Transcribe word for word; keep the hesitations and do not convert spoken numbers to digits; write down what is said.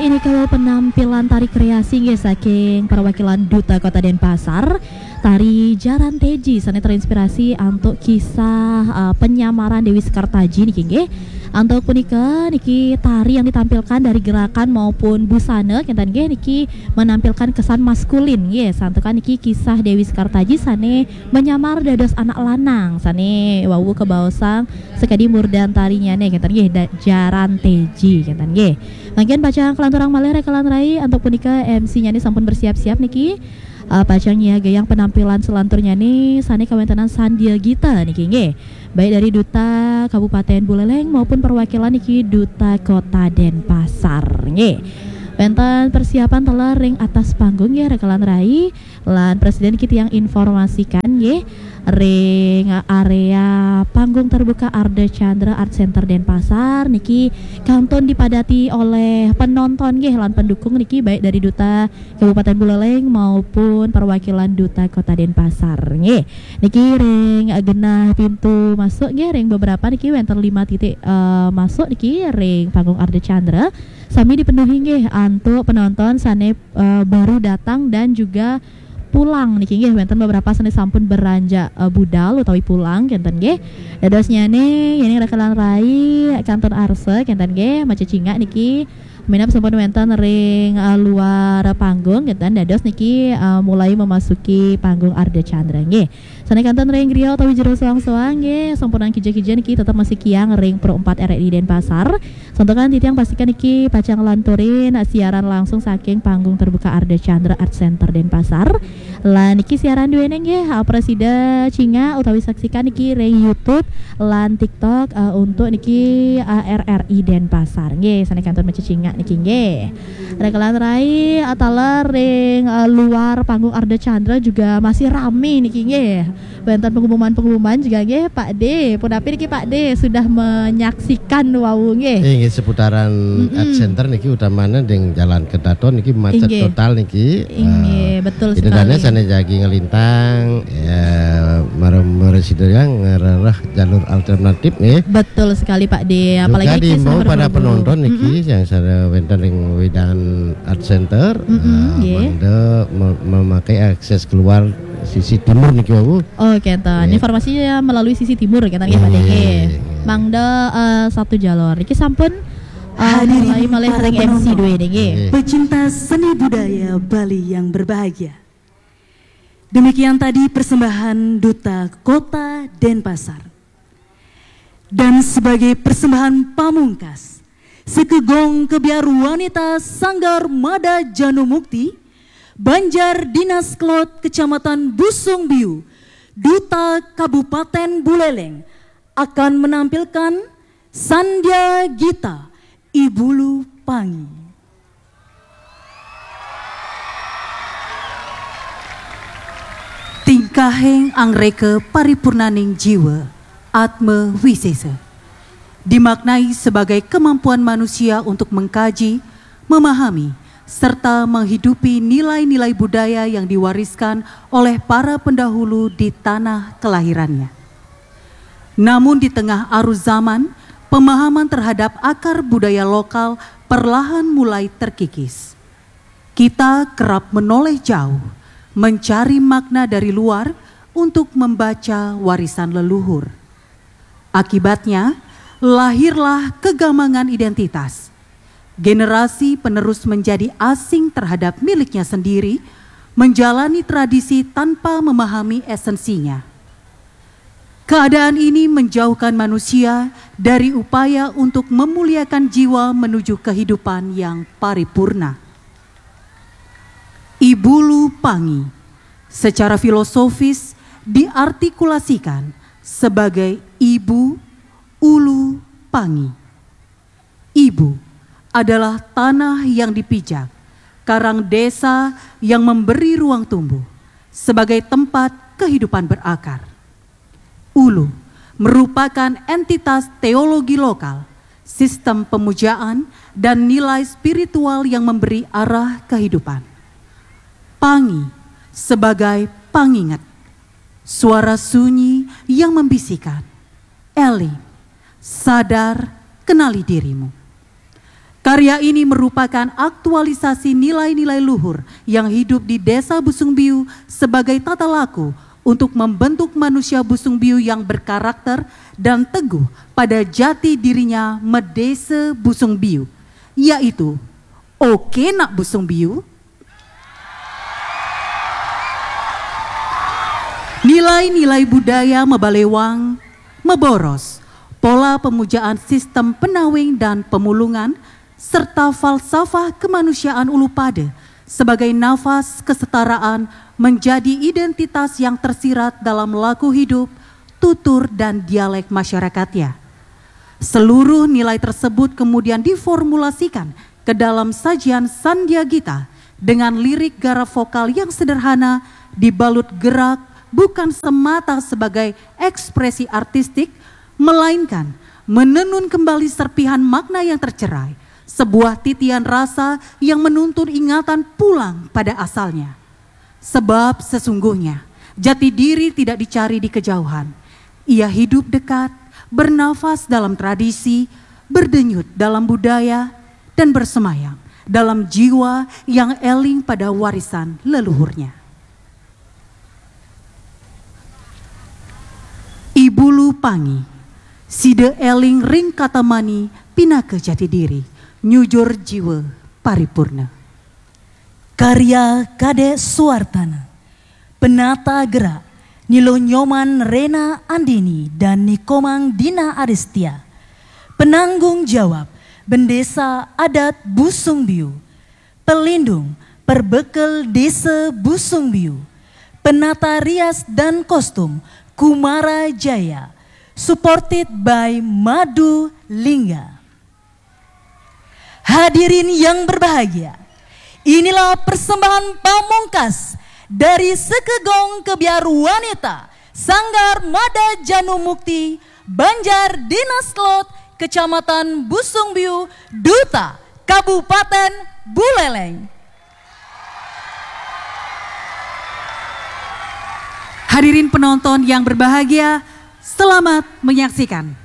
Ini kalau penampilan tari kreasi nggih saking perwakilan Duta Kota Denpasar, tari Jaran Teji sane terinspirasi antuk kisah uh, penyamaran Dewi Sekartaji niki nggih. Antuk punika niki tari yang ditampilkan dari gerakan maupun busana kenten nggih niki menampilkan kesan maskulin nggih. Santukan niki kisah Dewi Sekartaji sane menyamar dados anak lanang sane wau kebaosang sekadi murdan tarinyane kenten nggih da, Jaran Teji kenten nggih. Mangkin pacang kalanturang malih rekalan rai antuk punika M C-nyane sampun bersiap-siap niki. Uh, pacang nyiagayang penampilan selanturnyane sane kawentenan Sandia Gita niki nggih. Baik dari Duta Kabupaten Buleleng maupun perwakilan niki Duta Kota Denpasar nggih. Wenten persiapan teler ring atas panggung nggih rekalan rai. Lan presiden niki tiang informasikan nggih ring area panggung terbuka Arda Chandra Art Center Denpasar niki kantun dipadati oleh penonton nggih lan pendukung niki baik dari Duta Kabupaten Buleleng maupun perwakilan Duta Kota Denpasar nggih. Niki ring genah pintu masuk nggih ring beberapa niki wenten lima titik uh, masuk niki ring panggung Arda Chandra sami dipenuhi nggih antuk penonton sane uh, baru datang dan juga pulang niki nggih wenten beberapa sane sampun beranjak uh, budal utawi pulang kenten nggih. Dadosnyane yening rekalan rai kantun arsa kenten nggih macecingak niki minab sampun wenten ring uh, luar panggung kenten dados niki uh, mulai memasuki panggung Arda Chandra nggih. Sane kantun ring griya utawi jero soang-soang nggih sampunang kija-kija niki tetep masih kiang ring Pro empat R R I Denpasar. Santukan titiang pastikan niki pacang lanturin siaran langsung saking panggung terbuka Arda Chandra Art Center Denpasar. Lan niki siaran duene nggih uh, prasida cingak utawi saksikan niki ring YouTube lan TikTok uh, untuk niki uh, R R I Denpasar nggih sane kantun maca cingak niki nggih. Rekalan rai uh, taler ring uh, luar panggung Arda Chandra juga masih rame niki nggih. Wenten pengumuman-pengumuman juga nggih Pak De. Punapi niki Pak De sudah menyaksikan wau nggih. Eh, nggih seputaran Mm-mm. Art Center niki utamanya dengan jalan Ketaton niki macet Inggih. Total niki. Inggih, eh, betul sekali. Sane jagi ngelintang ya marem resida yang ngerereh jalur alternatif nggih. Betul sekali Pak De. Apalagi juga diimbau pada penonton niki mm-hmm. Yang sada wenten ring wewidangan Art Center mm-hmm, uh, mangda memakai akses keluar sisi timur niki wau. Oh, kenten. Nggih. Informasinya melalui sisi timur kenten nggih Pak De. Nggih. Mangda uh, satu jalur. Niki sampun uh, hadirin para penonton, M C dua nggih. Pecinta seni budaya Bali yang berbahagia. Demikian tadi persembahan Duta Kota Denpasar. Dan sebagai persembahan pamungkas, sekegong kebiar wanita Sanggar Mada Janu Mukti, Banjar Dinas Kelot Kecamatan Busung Biu, Duta Kabupaten Buleleng akan menampilkan Sandya Gita Ibulu Pangi. Tingkahing angreka paripurnaning jiwa, atma wisesa, dimaknai sebagai kemampuan manusia untuk mengkaji, memahami, serta menghidupi nilai-nilai budaya yang diwariskan oleh para pendahulu di tanah kelahirannya. Namun di tengah arus zaman, pemahaman terhadap akar budaya lokal perlahan mulai terkikis. Kita kerap menoleh jauh, mencari makna dari luar untuk membaca warisan leluhur. Akibatnya, lahirlah kegamangan identitas. Generasi penerus menjadi asing terhadap miliknya sendiri, menjalani tradisi tanpa memahami esensinya. Keadaan ini menjauhkan manusia dari upaya untuk memuliakan jiwa menuju kehidupan yang paripurna. Ibulu Pangi secara filosofis diartikulasikan sebagai ibu, ulu, pangi. Ibu adalah tanah yang dipijak, karang desa yang memberi ruang tumbuh sebagai tempat kehidupan berakar. Ulu merupakan entitas teologi lokal, sistem pemujaan, dan nilai spiritual yang memberi arah kehidupan. Pangi sebagai pangingat, suara sunyi yang membisikkan, Eli, sadar, kenali dirimu. Karya ini merupakan aktualisasi nilai-nilai luhur yang hidup di Desa Busungbiu sebagai tata laku untuk membentuk manusia Busungbiu yang berkarakter dan teguh pada jati dirinya, medese Busungbiu, yaitu oke nak Busungbiu. Nilai-nilai budaya mebalewang, meboros, pola pemujaan sistem penaweng dan pemulungan, serta falsafah kemanusiaan Ulupade sebagai nafas kesetaraan menjadi identitas yang tersirat dalam laku hidup, tutur, dan dialek masyarakatnya. Seluruh nilai tersebut kemudian diformulasikan ke dalam sajian Sandiagita dengan lirik garap vokal yang sederhana, dibalut gerak, bukan semata sebagai ekspresi artistik, melainkan menenun kembali serpihan makna yang tercerai, sebuah titian rasa yang menuntun ingatan pulang pada asalnya. Sebab sesungguhnya jati diri tidak dicari di kejauhan. Ia hidup dekat, bernafas dalam tradisi, berdenyut dalam budaya, dan bersemayam dalam jiwa yang eling pada warisan leluhurnya. Ibulu Pangi, side eling ring katamani pinaka jati diri, nyujur jiwa paripurna. Karya Kadek Suartana. Penata gerak, Nilo Nyoman, Rena Andini, dan Nikomang Dina Aristia. Penanggung jawab, Bendesa Adat Busungbiu. Pelindung, Perbekel Desa Busungbiu. Penata rias dan kostum, Kumara Jaya. Supported by Madu Lingga. Hadirin yang berbahagia, inilah persembahan pamungkas dari Sekegong Kebiar Wanita Sanggar Mada Janu Mukti, Banjar Dinas Lot, Kecamatan Busungbiu, Duta, Kabupaten Buleleng. Hadirin penonton yang berbahagia, selamat menyaksikan.